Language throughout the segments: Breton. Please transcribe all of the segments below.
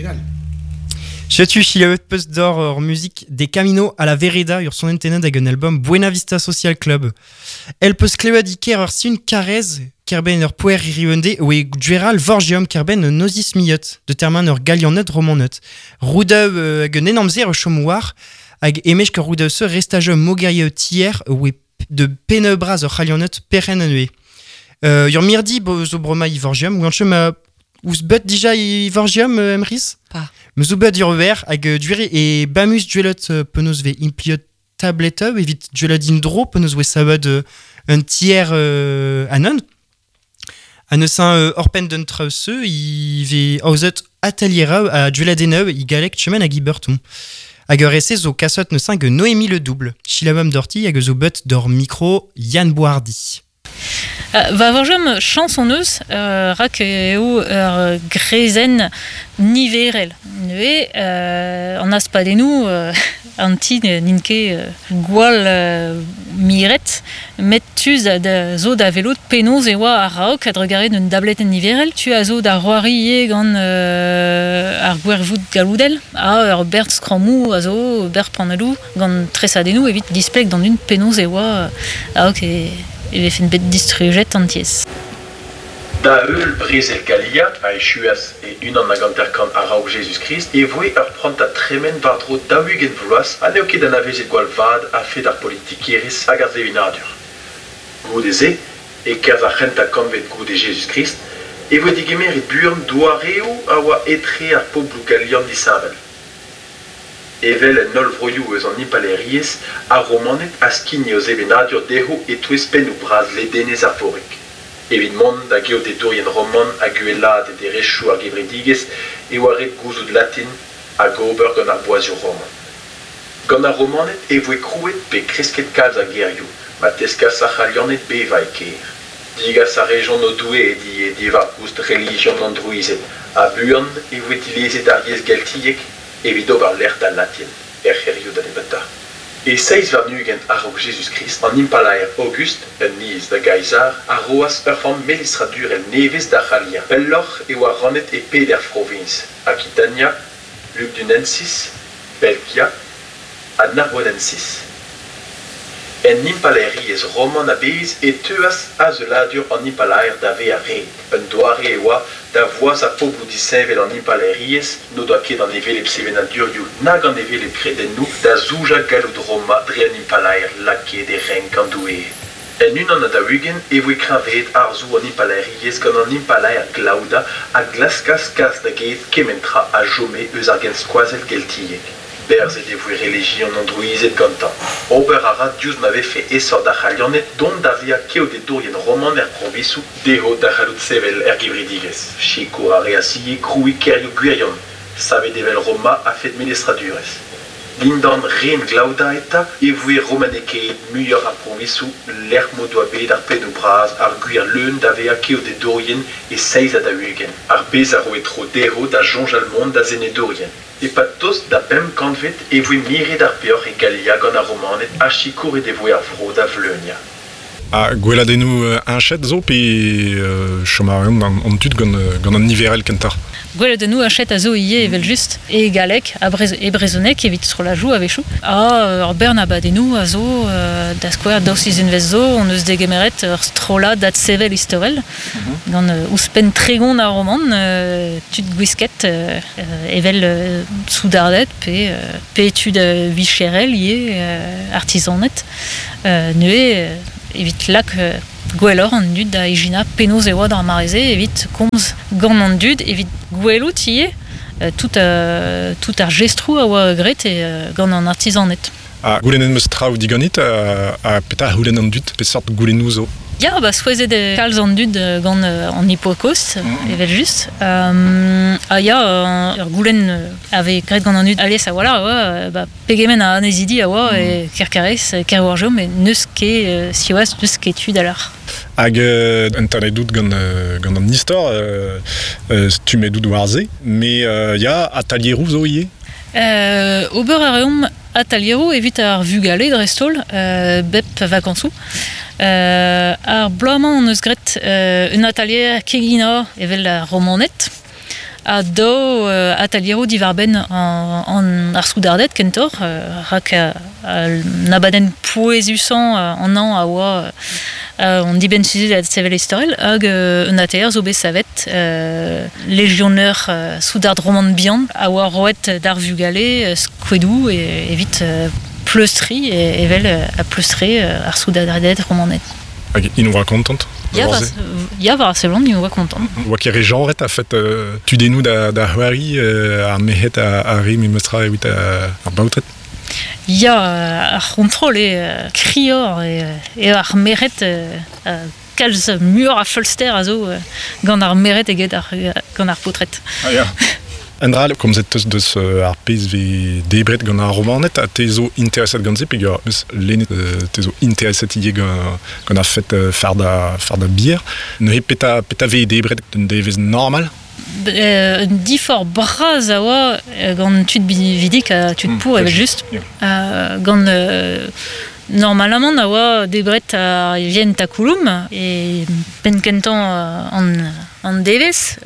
all. Setu selaouet peus doc'h ur muzik De Camino a la Vereda ur sonenn tennet hag un album Buena Vista Social Club. El peus klevet e-ker ur sin karrez kerbenn ur poer hiriv-un-dez oe Gweral Vorgium kerbenn un ozis miot de termen ur galianed romanet. Roudav hag un enamzer o chom war hag emesk ur roudav se restaj mogerie tier oe de penneu bras ur c'halianed perc'henn anezhe. Ur mirdi bo zo bremañ i Vorgium, oan chom ouzh bet dija i Vorgium, Emrys? Pas. Me zo bet ur wer hag duere e bamus duelet penaos vez impliet tableteu evit duelet indro penaos oe savet un tier anon. Ha neuze oc'hpenn d'un traoù-se, i vez aozet atalier ha dueladenneu i galleg chemen hag i beurton. Hag ur ese zo kasot neuze hag Noémie Le Double. Chilamam dorti hag zo bet d'ur micro Yann Boardi. Va vorjom chañs hon eus rak eo ur grezenn niverel. Neuze an aspadennoù an ti n'int ket gwall miret met tu zo da welout penaos e oa a-raok a-drugarez d'un dabletenn niverel. Tu a zo da c'hoari ivez gant ar gwervoud galloudel ha ur bern skrammoù a zo, ber panelloù gant tresadennoù evit displeg d'an dud penaos e oa a-raok e e vefen bet distrujet an tiez. Da heul brezel Galia, a echuas e 51 a-raok Jezuz-Krist, e voe ur prantad tremen war-dro 40 vloaz ha n'eo ket anavezet gwall vat a-fet ar politikerezh hag ar sevenadur. Goude-se, e-kerzh ar c'hentañ kantved goude Jezuz-Krist, e voe degemeret buan doareoù a oa etre ar pobloù galian disheñvel. Evel en holl vroioù eus an Impalaeriezh, ar Romaned a skigne o sevenadur dezho e-touez pennoù bras ledenez Arvorig. Evit mont da geodedourien roman hag uhelaat e derezhioù ar gevredigezh e oa ret gouzout latin hag ober gant ar boazioù roman. Gant ar Romaned e voe krouet pe kresket kalz a gêrioù ma teskas ar C'halianed bevañ e kêr. Degas a rejont o doueed ivez diwar-goust relijion an drouized ha buan e voe dilezet ar yezh geltiek evit ober lec'h d'al latin er c'hêrioù da nebeutañ. E 27 a-raok Jezuz-Krist, an impalaer Aogust, un niz da Gaezar, a roas ur framm melestradurel nevez da C'halia. Pelloc'h e oa rannet e peder froviñs, Akitania, Lugdunensis, Belgia ha Narbonensis. En Impalaeriezh roman a-bezh e teuas azeuladur an impalaer da vezañ ret. Un doare e oa da voazañ pobloù disheñvel an Impalaeriezh n'o doa ket an hevelep sevenadurioù nag an hevelep kredennoù da zoujañ galloud Roma dre un impalaer lakaet e renk an doueed. En 41 e voe kreñvaet harzoù an Impalaeriezh gant an impalaer Glaoda a glaskas kas da get kement tra a chome eus ar genskoazell geltiek. Berzet e voe relijion an drouized gantañ. Ober a ra diouzh ma vefe aesoc'h d'ar C'halianed dont da vezañ keodedourien roman er proviñsoù, dezho da c'hallout sevel er gevredigezh. Sikour a reas ivez krouiñ kêrioù gwirion, savet evel Roma a-fet melestradurezh. Dindan ren Glaoda eta e voe romanekaet muioc'h ar proviñsoù lec'h m'o doa bet ar pennoù bras ar gwir leun da vezañ keodedourien e 47, ar pezh a roe tro dezho da soñjal mont da senedourien. E-pad tost da bemp kantved e voe miret ar peoc'h e Galia gant ar Romaned ha sikouret e voe ar vro da vleuniañ. Ha gweladennoù heñchet zo pe chom a reont an tud gant, gant an niverel kentoc'h? Gweladennoù heñchet a zo ivez evel-just e galleg ha e brezhoneg evit strollajoù a-wechoù. Ha ur bern abadennoù a zo, da skouer daou sizhunvezh zo hon eus degemeret ur strollad adsevel istorel gant ouzhpenn 30 a romant tud gwisket evel soudarded pe pe tud vicherel ivez, artizaned. Neuze evit lak gwelloc'h an dud da ijinañ penaos e oa d'ar mare-se evit komz gant an dud, evit gwelout ivez tout, tout ar jestroù a oa graet gant an artizaned. Ha goulennet 'm eus traoù diganit ha petra a c'houlenn an dud? Peseurt goulennoù zo? Ya, ba souezhet eo kalz an dud gant an Hippocaust, evel-just. Ha ya, ur goulenn a vez graet gant an dud alies a-walc'h a oa ba, pegement a annezidi a oa e Kerkarez, Kerwarjo, met n'eus ket, siwazh, n'eus ket tu da lâr. Hag entanet out gant, gant an istor, stummet out war se, mais ya, atalieroù zo ivez? Ober a reomp atalieroù evit ar vugale dreist-holl, bep vakañsoù. Ar bloaz-mañ hon eus graet un atalier keginañ evel ar Romaned. A do ataliero divarben an ar soudardet kentor, rak nabaden poezusan an an a oa on diben suzet a sevel istorel hag un ATR zo bet savet legioneur soudard roman bihan a oa roet d'ar vugale skouedou e, evit pleustri e, evel a pleustre ar soudardet romanet. Hag in oa kontant? Ya war seblant in oa kontant. Oa ket re genret a fet tudennoù da c'hoari ar mehet a re memestra evit ar baotred? Ya, ar c'hontrol eo krior eo ar meret kalz muioc'h a feulster a zo gant ar meret eget ar, gant ar paotred. Ah ya. Un dra komzet teus deus ar pezh vez debret gant ar romaned ha te zo intereset gant se peogwir eus lennet te zo intereset ivez gant ar fet fardañ bier. Neuze petra vez debret d'un devezh normal? Un diforc'h bras a oa gant tud binvidik ha tud paour evel-just. Gant normalamant a oa debret ar vien takouloum e penn-kentañ an devezh,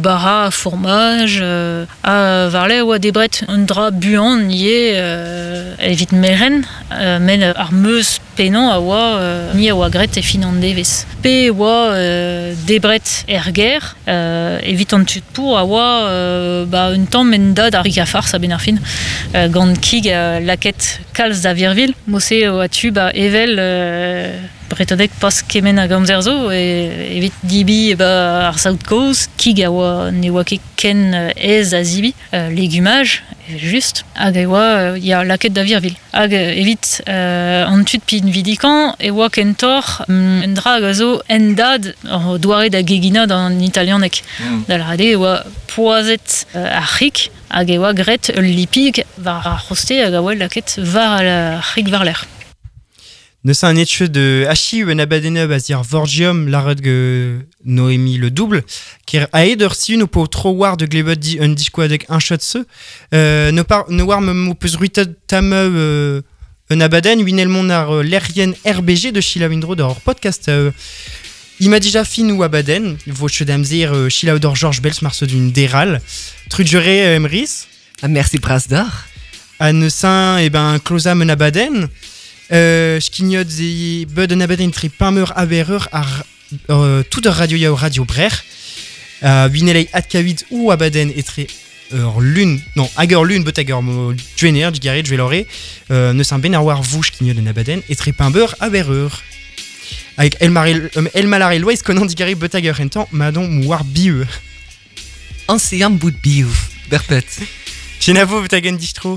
bara, fourmaj, ha war-lerc'h a oa debret un dra buan ivez evit merenn, met ar meuz pennañ a oa ni a oa graet e fin an devezh. Pe e oa debret er gêr evit an tud paour a oa ba un tamm endad ar rik-ha-farz a-benn ar fin gant kig lakaet kalz da virvilh. Mod-se e oa tu ba evel Bretoneg pas kement hag amzer zo evit dibi ba ar saout kozh, kig a oa ne oa ket ken aes da zibi, legumaj evel-just, hag e oa ya lakaet da virvilh. Hag evit an tud pinvidikañ e oa kentoc'h un dra hag a zo endad hor doare da geginañ d'an italianeg. Da lâret eo e oa poazhet ar c'hig hag e oa graet ul lipig war ar c'hoste hag a oa lakaet war ar c'hig war-lerc'h. Neuze un echu de achiu un abadenn a zir Vorgium lâret ge Noémie Le Double ker aet ur siun o po tro war de glevet di un diskoadeg un chat se no par no war me peus ruitet tameu un abadenn winel mont ar lec'hienn RBG de Sheila Windro d'ur podcast Il m'a déjà fin ou abadenn vo chet amzer Sheila d'or Georges Bels marse d'une déral Trudjere Emrys. Ah, merci bras d'or. A neusin e ben kloza un abadenn skignot ze beud un abadenn tre pameur abereur ar tout ur radio yaou radio brec'h winelei adkavit ou abadenn etre ur lun non hag ur lun beut hag ur duener digarez dvelore neus un ben ar war vouch skignot un abadenn etre pameur abereur hag El Malare Loeiz konan digarez beut hag ur hentan madon mouar bieu Ancien bout biou, berpet. Chenavo beut hag un distro.